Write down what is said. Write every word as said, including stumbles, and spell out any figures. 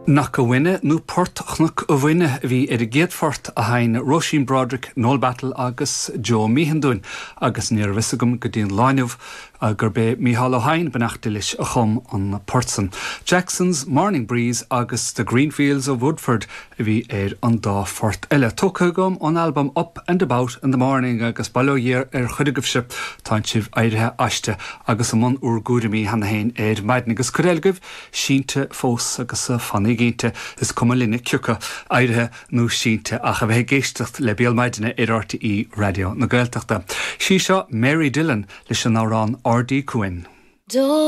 Knock Bhainne nó Port Chnoc a Bhainne a bhí ar an gcéad phort a sheinn Róisín Broderick, Noel Battle agus Joe Meehan dúinn agus ní raibh fhios agam go dtí an lá inniu gurb é Mícheál Ó hEidhin beannacht Dé leis a chum an port san. Jackson's Morning Breeze agus The Greenfields of Woodford a bhí ar an dá phort eile. Tógtha agam ón albam Up and About in the Morning agus bail ó Dhia ar chuid agaibhse tá sibh éirithe aisti agus i mbun bhur gcúraimí cheana féin ar maidin agus cuid eile agaibh sínte fós agus fanaigí inti is cuma linne cé acu éirithe nó sínte ach a bheith ag éisteacht le Béal Maidine ar RTÉ Raidió na Gaeltachta. Sí seo Mary Dillon leis an amhrán Ardí Cuain. Do